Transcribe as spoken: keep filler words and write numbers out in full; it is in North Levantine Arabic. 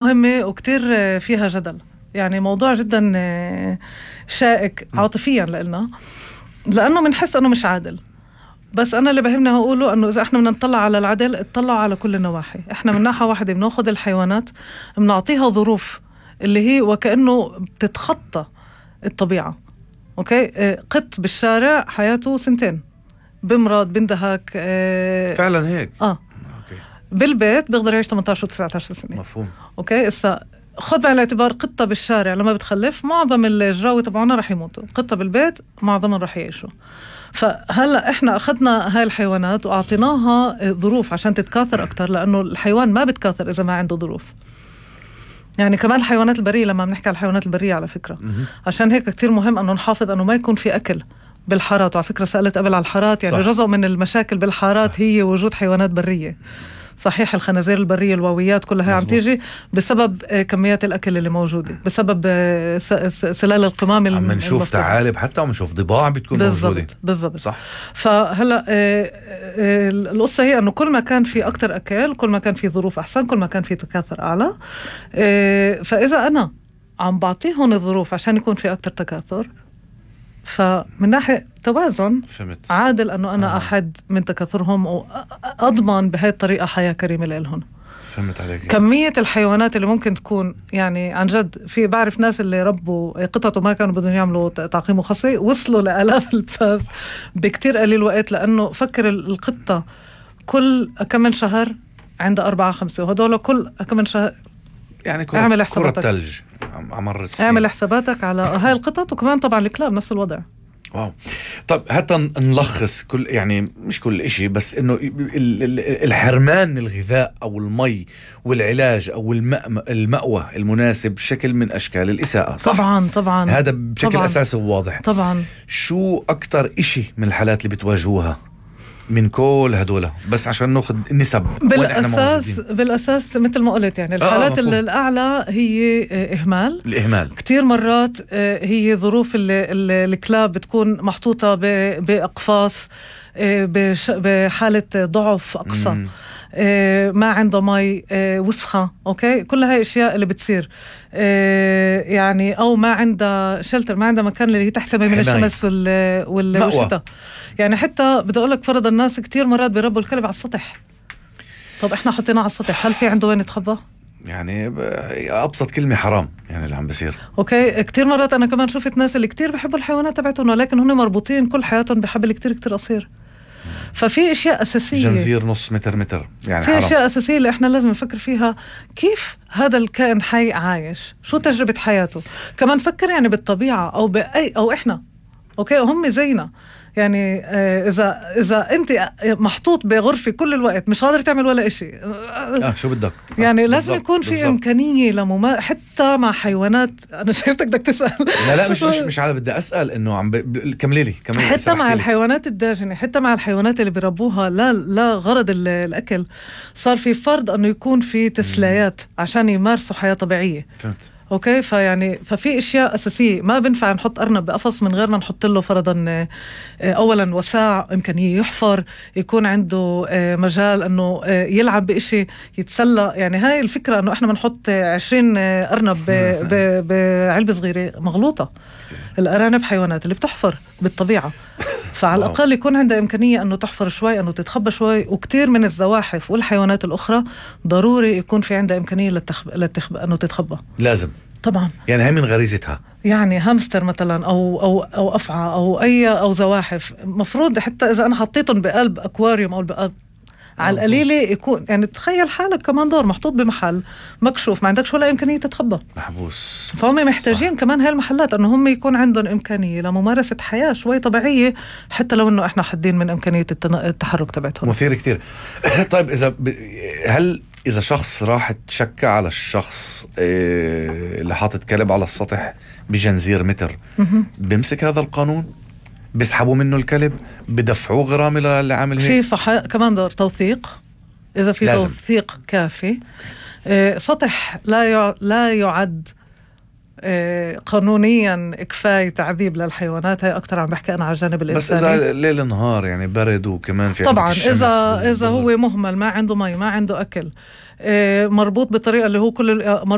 مهمة وكتير فيها جدل، يعني موضوع جدا شائك عاطفيا لإلنا، لأنه منحس أنه مش عادل. بس أنا اللي بهمنا هقوله أنه إذا إحنا بدنا نطلع على العدل اطلع على كل النواحي. إحنا من ناحية واحدة بناخد الحيوانات بنعطيها ظروف اللي هي وكأنه بتتخطى الطبيعة. أوكي، قط بالشارع حياته سنتين، بمرض بندهك. فعلا هيك. آه بالبيت بيقدر يعيش ثمانية عشر و تسعة عشر سنة. مفهوم. اوكي، اسا خد بعين الاعتبار قطة بالشارع لما بتخلف معظم الجراوي تبعونا رح يموتوا، قطة بالبيت معظمهم رح يعيشوا. فهلا احنا اخذنا هاي الحيوانات واعطيناها ظروف عشان تتكاثر اكتر، لانه الحيوان ما بتكاثر اذا ما عنده ظروف. يعني كمان الحيوانات البرية، لما بنحكي على الحيوانات البرية على فكرة عشان هيك كتير مهم انه نحافظ انه ما يكون في اكل بالحارات. وعلى فكرة سألت قبل على الحارات، يعني صح. جزء من المشاكل بالحارات صح. هي وجود حيوانات برية. صحيح الخنازير البرية الواويات كلها هي عم تيجي بسبب كميات الأكل اللي موجودة، بسبب سلال القمام. عم نشوف ثعالب حتى وعم نشوف ضباع بتكون بالزبط. موجودة. بالضبط صح. فهلا القصة هي أنه كل ما كان في أكتر أكل كل ما كان في ظروف أحسن، كل ما كان في تكاثر أعلى. فإذا أنا عم بعطيهم الظروف عشان يكون في أكتر تكاثر، فمن ناحية توازن فهمت. عادل أنه أنا آه. أحد من تكاثرهم وأضمن بهاي الطريقة حياة كريمة لهم. فهمت عليك. كمية الحيوانات اللي ممكن تكون، يعني عن جد في بعرف ناس اللي ربوا قطط وما كانوا بدهم يعملوا تعقيم وخصي وصلوا لآلاف البساس بكتير قليل وقت، لأنه فكر القطة كل كم من شهر عندها أربعة خمسة، وهدول كل كم من شهر يعني كرة, كرة تلج عمر السنين. اعمل حساباتك على هاي القطط، وكمان طبعا الكلاب نفس الوضع. واو. طب حتى نلخص كل، يعني مش كل إشي، بس إنه الحرمان من الغذاء أو المي والعلاج أو المأوى المناسب شكل من أشكال الإساءة. صح؟ طبعا طبعا هذا بشكل طبعاً. أساسي وواضح. طبعا. شو أكتر إشي من الحالات اللي بتواجهوها من كل هدول، بس عشان ناخذ النسب بالأساس بالأساس مثل ما قلت، يعني الحالات آه الأعلى هي إهمال. الإهمال كتير مرات هي ظروف الكلاب بتكون محطوطة بأقفاص بحالة ضعف أقصى، ما عنده مي، وسخة. أوكي، كل هاي أشياء اللي بتصير، يعني أو ما عنده شلتر، ما عنده مكان اللي تحتمي من الشمس والشتاء. يعني حتى بدي أقولك فرض الناس كتير مرات بيربوا الكلب على السطح. طب إحنا حطيناه على السطح، هل في عنده وين يتخبى؟ يعني أبسط كلمة حرام يعني اللي عم بيصير. أوكي، كتير مرات أنا كمان شفت ناس اللي كتير بيحبوا الحيوانات تبعتهم، ولكن هن مربوطين كل حياتهم بحبل كتير كتير قصير. ففي اشياء اساسيه، جنزير نص متر متر، يعني في حرام. اشياء اساسيه اللي احنا لازم نفكر فيها. كيف هذا الكائن حي عايش؟ شو تجربه حياته؟ كمان فكر يعني بالطبيعه او باي او احنا. اوكي، هم زينا. يعني آه اذا اذا انت محطوط بغرفه كل الوقت مش قادر تعمل ولا إشي، اه شو بدك؟ يعني لازم يكون في بالزبط. امكانيه لمما حتى مع حيوانات. انا شايفتك بدك تسال. لا لا مش مش مش على بدي اسال انه عم ب... كملي لي كملي. حتى مع الحيوانات الداجنه، حتى مع الحيوانات اللي بيربوها لا لا غرض الاكل، صار في فرض انه يكون في تسليات عشان يمارسوا حياه طبيعيه. فهمت. اوكي، فيعني ففي اشياء اساسيه ما بنفع نحط ارنب بقفص من غير ما نحط له فرضا اولا وساع، امكانيه يحفر، يكون عنده مجال انه يلعب بإشي، يتسلى. يعني هاي الفكره انه احنا بنحط عشرين ارنب بعلبه صغيره مغلوطه. الارانب حيوانات اللي بتحفر بالطبيعه، فعلى الأقل يكون عندها إمكانية أنه تحفر شوي، أنه تتخبى شوي. وكتير من الزواحف والحيوانات الأخرى ضروري يكون في عندها إمكانية للتخب... للتخب... أنه تتخبى. لازم طبعا، يعني هي من غريزتها. يعني هامستر مثلا أو أو أو أفعى أو أي أو زواحف، مفروض حتى إذا أنا حطيتهم بقلب أكواريوم أو بقلب على القليلة يكون، يعني تخيل حالك كمان دور محطوط بمحل مكشوف، ما عندكش ولا إمكانية تتخبى، محبوس. فهم محتاجين صح. كمان هاي المحلات أنه هم يكون عندهم إمكانية لممارسة حياة شوي طبيعية، حتى لو أنه إحنا حدين من إمكانية التحرك تبعتهم. مثير كتير. طيب إذا ب... هل إذا شخص راح تشكى على الشخص إيه اللي حاطط كلب على السطح بجنزير متر، بيمسك هذا القانون؟ بيسحبوا منه الكلب؟ بدفعوه غرامة اللي عامل هيك؟ في فح... كمان دور توثيق، إذا في لازم. توثيق كافي. آه سطح لا ي... لا يعد آه قانونيا كفاية تعذيب للحيوانات. هاي أكتر عم بحكي أنا على الجانب الإنساني. بس إذا ليل نهار يعني برد وكمان في طبعا إذا إذا هو مهمل، ما عنده مي، ما عنده أكل، مربوط بطريقة اللي هو كل